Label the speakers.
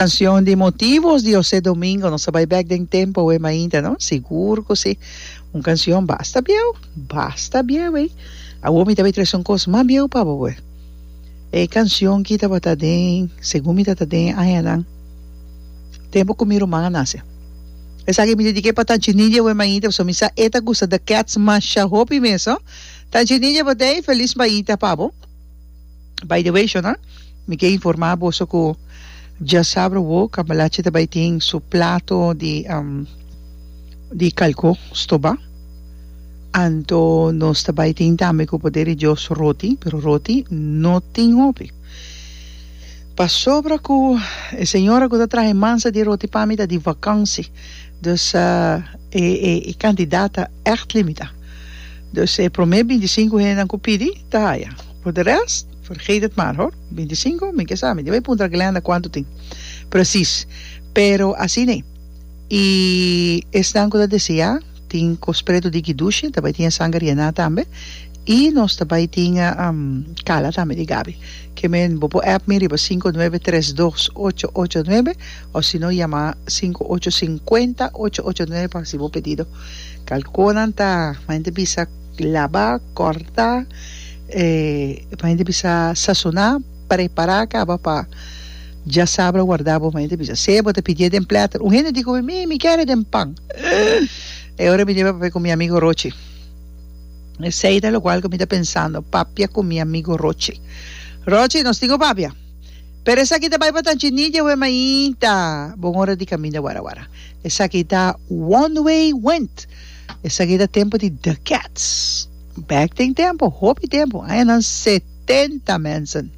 Speaker 1: Cancion di Motivos di José Domingo, nos a bai bek den tempo awe mainta, no? Sigur cu si. Un cancion basta bieu, basta bieu ey. Awor mi ta bai trece un cos mas bieu pa bo awe. E cancion ki tabata den, segun mi tata den añanan, tempo cu mi ruman a nace. Esaki mi dedique pa Tanchi Nidia awe mainta, pasobra mi sa e ta gusta The Cats masha hopi mes, no? Tanchi Nidia bo ta ey, feliz mainta pa bo. By the way shona, mi ke informa boso ku djasabra awo Cambalache ta bai tin su plato di di kalko stoba. Anto nos ta bai tin tambe ku poder di Dios roti, pero roti no tin hopi. Pasobra ku e señora ku ta traha e mansa di roti pa mi ta di vakansi, dus e e kantidat ta ègt limitá. Dus e promé bintisinku hendenan ku pidi ta haya. Por de rest, vergeet het maar hoor. Bintisinku? Mi ke sa, mi debe puntra Glenda kuantu tin precies. Pero asina ei. I esnan ku ta deseá tin kos pretu di Kidushi, ta bai tin e sanger yená tambe. I nos ta bai tin kala tambe di Gabi. Ke men bo por app mi riba 593 2889 òf si no yama 5850 889 pa hasi bo pedido. Kalkonan ta, main ta bisa laba, kòrta, main ta bisa sasoná, prepará kaba pa djasabra warda bo, main ta bisa. Sea bo ta pidié den plèter. Un hende di ku mi, mi, mi kere den pan. E ora mi debe papia ku mi amigo Rochi. Esei ta lokual ku mi ta pensando, papia ku mi amigo Rochi. Rochi, nos tin ku papia. Pero esaki ta bai pa Tanchinilla we mainta. Bon ora di kaminda wara wara. Esaki ta One Way Wind. Esaki ta tempo di The Cats. Back den tempo, hopi tempo, añanan setenta mensen.